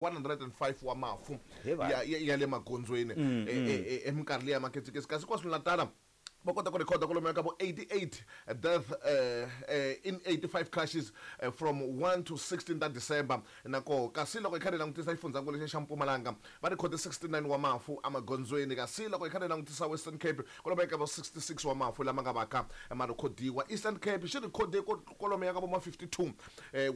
105 wa mafu He vanhu. ya le magondzweni eminkarhi leyi ya maketsiketsi, kasi KwaZulu-Natal va kota ku rhekhoda kwalomuya ka vo 88 death in 85 crashes from 1 to 16 ta December na koho. Kasi loko hi kha hi langutisa xifundzankulu lexiya xa Mpumalanga, va rhekhode 69 wa mafu emagondzweni. Kasi loko hi kha hi langutisa Western Cape, kwalomuya ka vo 66 wa mafu lama nga vaka ma rhekhodiwa. Eastern Cape xi rhekhode kwalomuya ka vo ma 52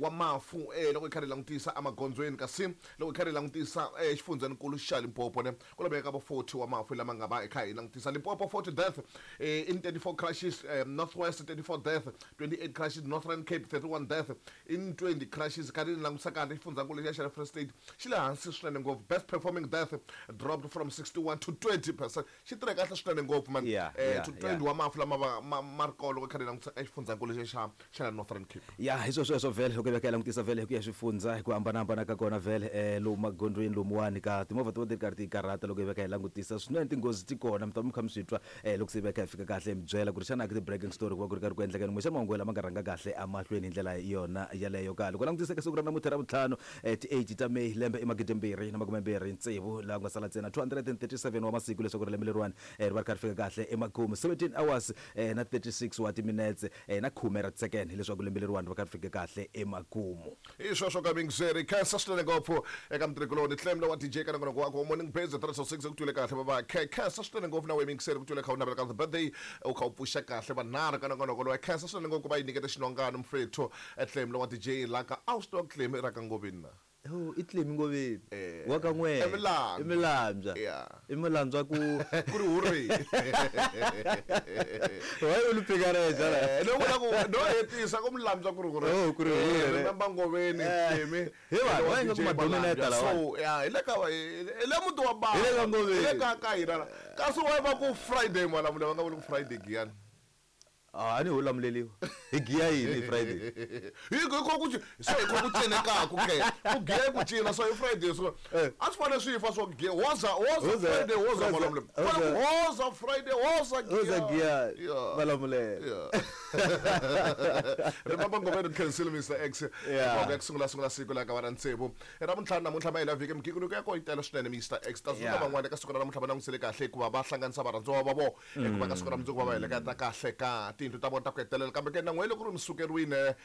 wa mafu loko hi kha hi langutisa emagondzweni. Kasi loko hi kha hi langutisa xifundzankulu xa Limpopo ne, kwalomuya ka vo 40 wa mafu lama nga va hi kha hi langutisa. Limpopo 40 death in 34 crashes, Northwest 34 death, 28 crashes, Northern Cape 31 death in 20 crashes. Karhi ni langutisa kahle xifundzankulu lexiya xa Free State xi le hansi swinene ngopfu, best performing death dropped from 61 to 20%. Xi tirhe kahle swinene ngopfu man, to 20 wa mafu lama va ma ri kona loko hi kha hi langutisa exifundzhankulu lexiya xa la Northern Cape. Ya, hi swo sweswo vhele loko hi veka hi langutisa vhele hi ku ya swifundza hi ku hambanahambana ka kona vhele lomu magondzweni lomuwani ka timovha ti va ti ri karhi ti karhata. Loko hi veka hi langutisa swinene tinghozi ti kona, mi ta va mi kha mi swi twa loko se hi veka hi fika kahle hi mi byela ku ri xana ka ti-breaking story ku va ku ri karhi ku endleka yini, kumbexana mahungu lama nga rhanga kahle emahlweni hi ndlela yona yaleyo. Ka loko langutisa eka siku ra namuntlha ra vutlhanu, ti-8 ta May, lembe i 2026, laha ku nga sala ntsena 237 wa masiku leswaku ri lembe leriwani ri va ri kha ri fika kahle emakumu, 17 hours na 36 wa timinetse na khume ra tisekene hileswaku lembe leriwani ri va kha ri fike kahle emakumu. Hi sweswo ka mingizeri, khensa swinene ngopfu eka mutirhikuloni Clem wa DJ ka nongonoko wakwe wa Morning Base 306. Ku twile kahle baba khensa swinene ngopfu na we mingizeri, ku twile kha u navela ka the birthday, u kha u pfuxa kahle vanharhu ka nongonoko lowa. Khensa swinene ngopfu ku va yi nyikete xinongano mfethu Clem wa DJ la ka a wu swi tiva ku Clem i ra ka Ngoveni na? Oh, i Clemi Ngoveni. Wa ka n'we. Emilandzwa. Emilandzwa. Emilandzwa ku Ku ri hurri. Why u lu phika reja la? No vula ku no hetisa ku Mulandzwa ku ri hurri. Oh, ku ri hurri. Remember Ngoveni, Clemi. He vanhu, va nga DJ ku madominata Malandzwa. lawa. So, yeah, hi le ka hi le muti wa bava. Hi le ka Ngoveni. Hi le ka hina la. Kasi why va ku Friday Malamula, va nga vuli ku Friday Giyani. Ah, a ni ho lamuleliwa. Hi giya yini hi Friday? Hi ko ku so hi ko ku cinekaku ke. Ku giya ku cina so hi Friday so. A swi fanele swi fa swo giya. Woza, woza Woza, Friday, woza woza, Malamula. woza. Fanele ku woza Friday, woza giya. Woza giya. Malamula. Remember Ngoveni khensile Mr X. Loko ku sungula sungula siku la ka va ra tsevu. Ra vuntlhanu namuntlha ma hela vhiki migingiriko ya kona yi tele swinene Mr X. Ta zula van'wana eka siku ra namuntlha va langutisele kahle hikuva va hlanganisa varhandziwa va vona. Hikuva ka siku ra mundzuku va va heleketa kahle ka tiyindlu ta vona ta ku hetelela. Kambe ke na n'we loko ri mi sukeriwile,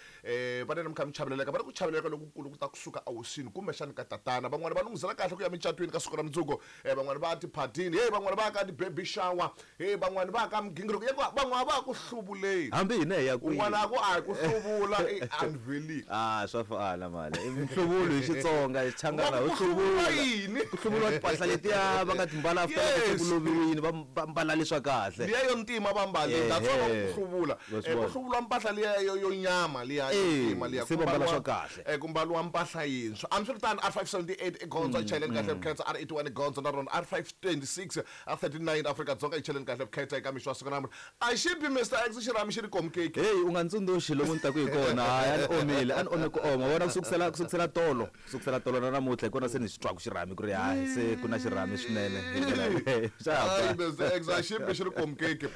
va nene mi kha mi chaveleleka, va ri ku chaveleleka lokukulu ku ta kusuka ehosini kumbexani ka tatana. Van'wana va lunghisela kahle ku ya micatwini ka siku ra mundzuku, van'wana va ya tiphatini, hey, van'wana va ya ka ti-baby shower, hey, van'wana va ya ka migingiriko ya ku van'wana va ya ku hluvuleni. Hambi hina hi ya kwihi? Un'wana a ku a hi ku hluvula i anveli. Ah, swa fana mali. I mihluvulo hi Xitsonga, hi Xichangana, Ku ho hluvula hluvula. yini? Ku hluvuriwa timpahla letiya va nga ti mbala after loko se ku loviwile, va mbala leswa kahle. Liya yo ntima va mbale, that's why va ku hluvula. Wa swi Ku vona. hluvuriwa mpahla liya yo nyama liya yo ntima liya. Se va mbala swa kahle. Ku mbariwa mpahla yintshwa. Hambiswiritano, R578 i gondzo, yi chayeleni kahle vukheta. R81 i gondzo na rona. R526, R39 Afrika-Dzonga yi cheleni kahle vukheta eka mixo wa siku namuntlha. A xi bi Mister X xirhami xi ri komkeki. Hey, u nga ntsundzuxi lomu ni taku hi kona. Hayi, a ni omile, a ni ome ku oma. Vona ku sukusela tolo, ku sukusela tolo na namuntlha hi kona se ni swi twaku xirhami ku ri hayi se ku na xirhami swinene. Hi ndlela yaleyo. Xa ha Hayi, ba. Mister X a xi bi xi ri komkeki.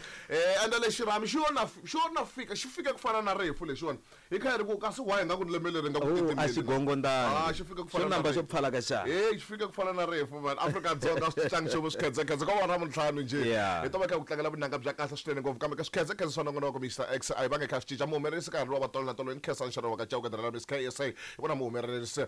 Ende lexi xirhami xi yo na xi yo na fika, xi fike ku fana na rifu lexiwani. Hi kha hi ri ku kasi why nga ku ni lembe leri nga ku Oh, a titimeli xi na? gongondani. Ah, xi fike ku fana Xo na namba xo rifu. pfala ka xa. Hey, xi fike ku fana na rifu man. Afrika-Dzonga swi tlangi nchumu swikhedzekhedze ko va ra vuntlhanu njhe. Hi to va kha ku tlangela vunanga bya kahle swinene ngopfu kambe ka swikhedzekhedze swa nongonoko Mister X a hi vange kha swi cinca. Muhumelerisi ka ha ri wa va tolo na tolo i Nkhensani Nxarani wa ka Chauke Dra Miss KSA hi vona muhumelerisi.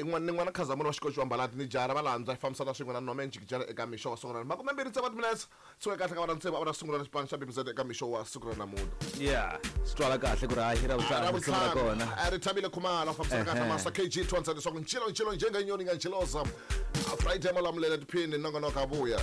N'wana ni n'wana Khazamula wa xikoxi wa Mbalati ni jara va landza hi fambisana swin'we na Norman Jikijela eka mixo wa siku ra makume mbirhi tsevu wa timinetse. Suka kahle ka vana tsevu a va ta sungula na xipano xa BBZ eka mixo wa siku ra namuntlha. Yeah, swi twala kahle ku ri hayi ra vutlhanu risimu ra kona. A ri Thabile Khumalo a fambisana kahle Master KG 200 leswaku ncilo ncilo njengenyoni nga nciloza. Friday Malamulele tiphini nongonoko a vuya.